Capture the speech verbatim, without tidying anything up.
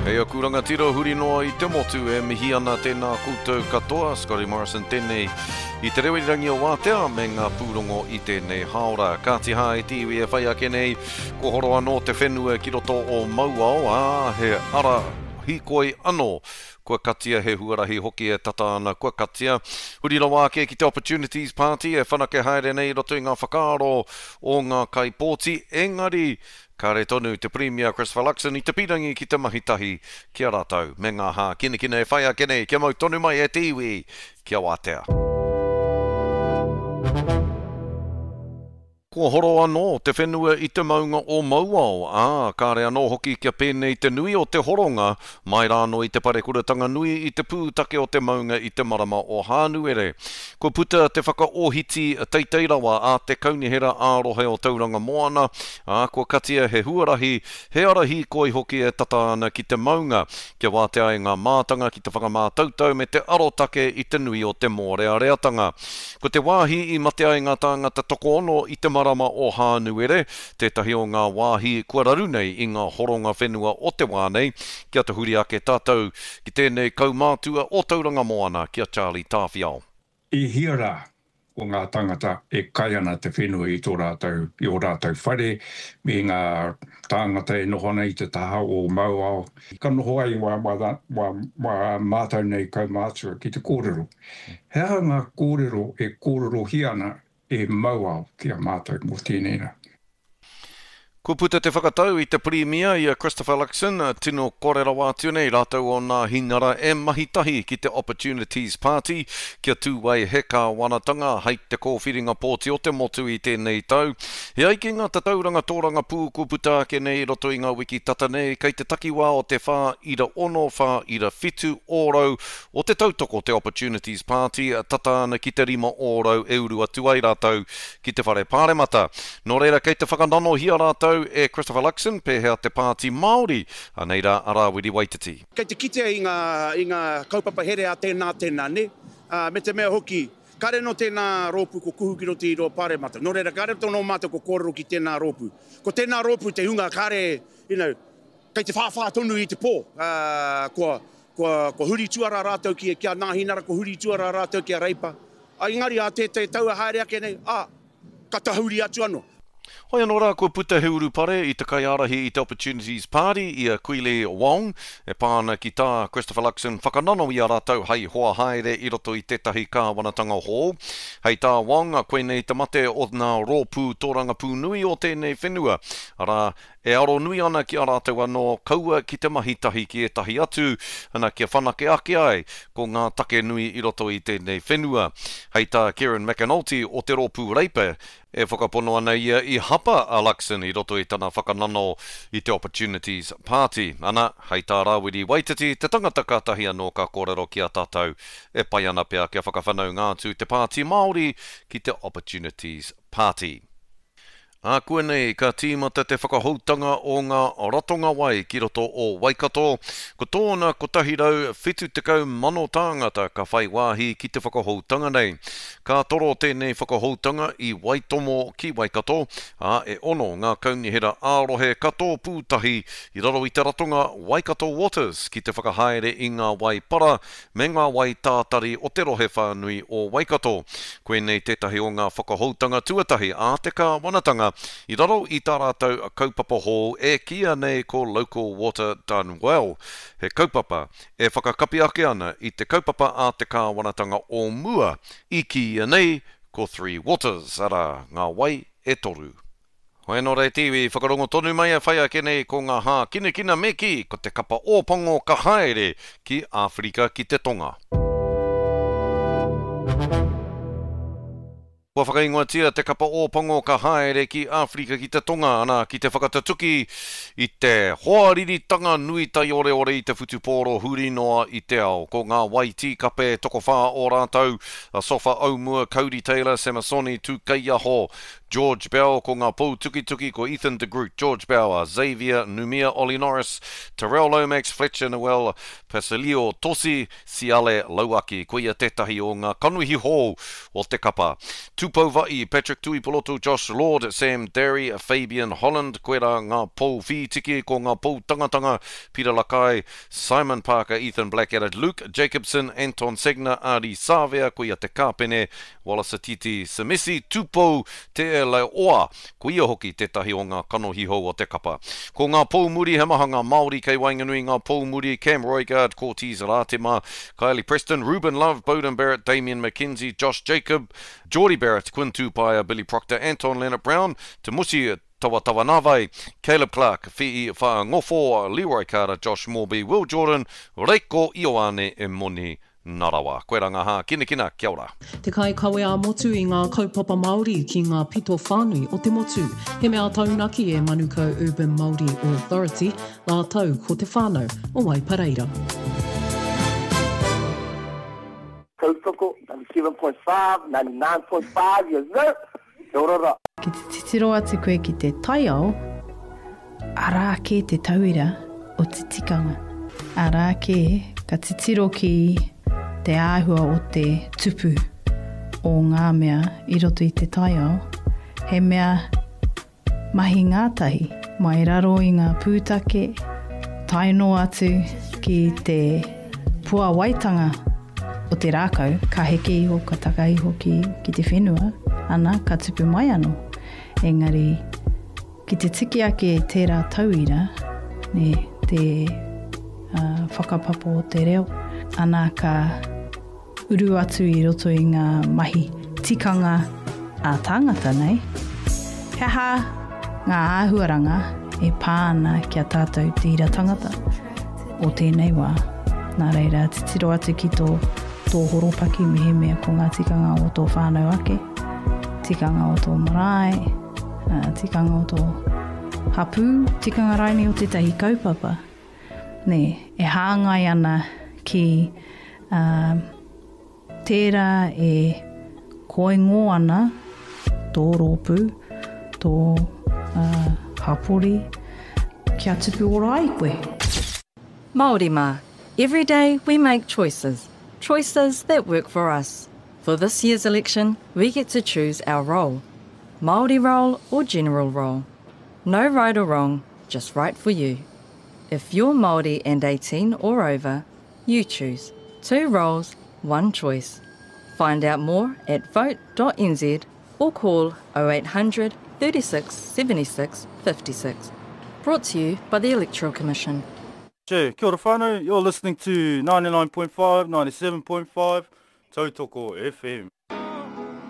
E aku rangatira huri noa i te motu e mihi ana tēnā koutou katoa, Scotty Morrison tēnei i te reo irirangi o Wātea me ngā pūrongo i tēnei haora. Kāti hā e te iwi e whai ake nei, ko horo anō te whenua ki roto o Mauao, ā, he ara hīkoi anō. Kua katia he huarahi hoki e tata ana, kua katia. Huri rawa ake ki te Opportunities Party e whanake haere nei i roto i ngā whakaaro o ngā kaipōti, engari kāre tonu te Premier Christopher Luxon i te pīrangi ki te mahi tahi ki a rātou me ngā hākinakina e whai ake nei kia mau tonu mai e te iwi kia wātea. Kua horo anō te whenua i te maunga o Mauao, ā, kāre anō hoki kia pēnei te nui o te horonga mai rānō i te parekuratanga nui i te pūtake o te maunga i te marama o Hānuere. Kua puta te whakaohiti teitei rawa a te kaunihera ā-rohe o Tauranga Moana, ā, kua katia he huarahi, he ara hīkoi hoki e tata ana ki te maunga, kia wātea ai ngā mātanga ki te whakamātautau me te arotake i te nui o te mōreareatanga. Ko te wāhi i mate ai ngā tāngata tokoono i te marama o Hānuere, tētahi o ngā wāhi kua raru nei i ngā horonga whenua o te wā nei, kia tahuri ake tātou ki tēnei kaumātua o Tauranga Moana ki a Charlie Tāwhiao. I hia rā o ngā tangata e kai ana te whenua i tō rātou, i ō rātou whare, me ngā tāngata e noho ana i te taha o Mauao. Ka noho ai wā, wā, wā, wā mātou nei kaumātua ki te kōrero. He aha ngā kōrero e kōrerohia ana e Mauao ki a mātou mō tēnei rā. Kua puta te whakatau i te Pirimia i a Christopher Luxon, tino kore rawa atu nei rātou o nā hinara e mahi tahi ki te Opportunities Party kia tū ai he kāwanatanga hei te kōwhiringa pōti o te motu i tēnei tau. He ai ki ngā tatauranga tōrangapū kua puta ake nei i roto i ngā wiki tata nei kei te takiwā o te whā ira ono, whā ira whitu ōrau o te tautoko te Opportunities Party tata ana ki te rima ōrau e uru atu ai rātou ki te whare pāremata. Nō reira kei te whakananohia rātou e Christopher Luxon, pēhea te Pāti Māori, anei rā a Rāwiri Waititi. Kei te kitea i ngā, i ngā kaupapa here a tēnā, tēnā, ne? Uh, me te mea hoki, kāre no tēnā rōpū ko kuhu ki roto i roa pāremata. Nō reira, kāre tō nō mātou ko kōrero ki tēnā rōpū. Ko tēnā rōpū te hunga kāre, you know, kei te whāwhā tonu i te pō. Uh, kua, kua, kua huri tuara rātou ki, ki a Nāhinara, kua huri tuara rātou ki a Reipa. A engari a te, te taua haere ake nei, a, ka tahuri atu anō. Hoi anō rā kua puta he urupare i te kaiārahi i te Opportunities Party i a Kwili Wong e pā ana ki tā Christopher Luxon whakanano i a rātou hei hoa haere i roto i tētahi kāwanatanga hou. Hei tā Wong, koinei te mate o ngā rōpū tōrangapū nui o tēnei whenua. Arā, e aro nui ana ki a rātou anō kaua ki te mahi tahi ki ētahi atu, ana kia whanake ake ai ko ngā take nui i roto i tēnei whenua. Hei tā Kieran McAnulty o te rōpū Reipa, e whakapono ana ia i hapa a Luxon i roto i tana whakanano i te Opportunities Party. Ana, hei tā Rāwiri Waititi, te tangata kātahi anō ka kōrero ki a tātou e pai ana pea kia whakawhanaunga atu te Pāti Māori ki te Opportunities Party. Ākuanei ka tīmata te whakahoutanga o ngā ratonga wai ki roto o Waikato. Ko tōna kotahi rau whitu tekau mano tāngata ka whai wāhi ki te whakahoutanga nei. Ka toro tēnei whakahoutanga i Waitomo ki Waikato, ā, e ono ngā kaunihera ā-rohe ka tōpū tahi i raro i te ratonga Waikato Waters ki te whakahaere i ngā wai para me ngā wai tātari o te rohe whānui o Waikato. Koinei tētahi o ngā whakahoutanga tuatahi a te kāwanatanga i raro i tā rātou kaupapa hou e kīia nei ko Local Water Done Well. He kaupapa e whakakapi ake ana i te kaupapa a te kāwanatanga o mua i kīia nei ko Three Waters, arā, ngā wai e toru. Hoi anō rā te iwi, whakarongo tonu mai e whai ake nei ko ngā hākinakina me kī, ko te kapa Ōpango ka haere ki Āwherika ki te Tonga. Kua whakaingoatia te kapa Ōpango ka haere ki Āwherika ki te Tonga, ana ki te whakatatuki i te hoariritanga nui taioreore i te whutupōro huri noa i te ao. Ko ngā wai tīkape tokowhā o rātou, a Sofa Aumua, Cody Taylor, Samasoni Tūkeiaho, George Bell, ko ngā pou tukituki, ko Ethan de Groot, George Bauer, Xavier Numia, Ollie Norris, Terrell Lomax, Fletcher Noel, Pasilio Tosi, Siale Lauaki. Koia tētahi o ngā kanohi hou o te kapa. Tupou Va'i, Patrick Tuipolotu, Josh Lord, Sam Darry, Fabian Holland, koera ngā pou whītiki, ko ngā pou tangatanga, Peter Lakai, Simon Parker, Ethan Blackadder, Luke Jacobson, Anton Segner, Ardie Savea, koia te kāpene, Wallace Titi Semisi, Tupou Te Leoa, koia hoki tētahi o ngā kanohi hou o te kapa. Ko ngā pou muri, he maha ngā Māori kei waenganui ngā pou muri, Cam Roigard, Cortez Ratima, Kylie Preston, Ruben Love, Beauden Barrett, Damian McKenzie, Josh Jacob, Jordie Barrett, Quinn Tupaea, Billy Proctor, Anton Lienert-Brown, Te Musi Tawatawanawai, Caleb Clark, Fi'i Fa'angofo, Leroy Carter, Josh Morby, Will Jordan, Reiko Ioane e Moni Narawa. Koe rā ngā hākinakina, kia ora. Te kaikawe ā-motu i ngā kaupapa Māori ki ngā pito whānui o te motu. He mea taunaki e Manukau Urban Māori Authority rātou ko te whānau o Waipareira. Tautoko, ninety seven point five, ninety nine point five, yes sir! Kia ora ra. Ki te titiro atu koe ki te taiao, arā kē te tauira o te tikanga. Arā kē ka titiro ki te āhua o te tupu o ngā mea i roto i te taiao, he mea mahi ngātahi mai raro i ngā pūtake, tae noa atu ki te puawaitanga o te rākau, ka heke iho, ka taka iho ki, ki te whenua, ana, ka tupu mai anō. Engari, ki te tiki ake tērā tauira, ne, te, uh, whakapapa o te reo, ana ka uru atu i roto i ngā mahi tikanga a tāngata nei. He aha ngā āhuaranga e pā ana ki a tātou te ira tangata o tēnei wā. Nā reira, titiro atu ki tō, tō horopaki mehemea ko ngā tikanga o tō whānau ake, tikanga o tō marae, tikanga o tō hapū, tikanga raini o tētahi kaupapa. Nē, e hāngai ana ki, uh, tērā e koingo ana tō rōpū, tō, uh, hapori, kia tupu ora ai koe. Māori mā, every day we make choices. Choices that work for us. For this year's election, we get to choose our role. Māori role or general role. No right or wrong, just right for you. If you're Māori and eighteen or over, you choose. Two roles, one choice. Find out more at vote dot n z or call oh eight hundred thirty-six seventy-six fifty-six. Brought to you by the Electoral Commission. Che, kia ora whānau, you're listening to ninety-nine point five, ninety-seven point five, Tautoko F M.